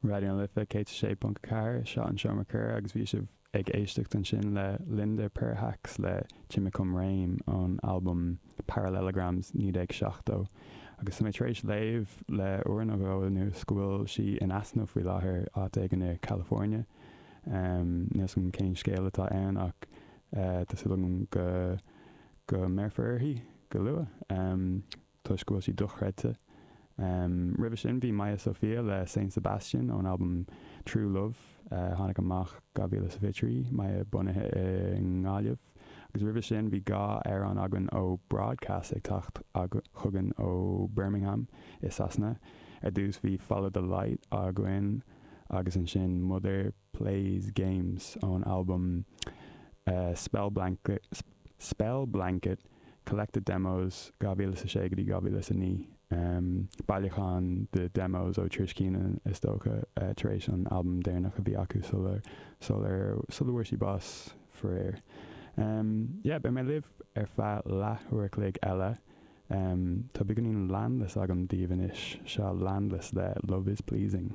Raidió na Life 106.4, seo an Seomra Comhrá agus bhí sibh ag éisteacht ansin le Linda Perhacs le Chimichum Rame ón albam Parallelograms 1970. Agus tá mé tar éis léamh le uair nó dhó anuas go bhfuil sí in easnamh faoi láthair áit éigin i California. Níl 'fhios agam cén scéal atá ann ach tá súil agam go go mbéarfar uirthi go luath. toisc go bhfuil sí dochreidte. Roimhe sin bhí Maya Sophia le Saint Sebastian ón albam True Love a tháinig amach 2023, Maya bunaithe i nGaillimh. Agus roimhe sin bhí 2 amhrán againn ó Broadcast ag teacht chugainn ó Birmingham i Sasana. Ar dtús bhí Follow the Light againn agus ansin Mother Plays Games ón albam Spell Spell Blanket Collected Demos 2006 go dtí 2009. Bailiúchán de demos ó Trish Keenan is dócha tar éis an albam deireanach a bhí acu sular sular sula bhfuair sí bás faraor. Yeah, beidh mé libh ar feadh leath uair a chloig eile. Tá beagáinín Landless agam daoibh anois. Seo Landless le Love Is Pleasing.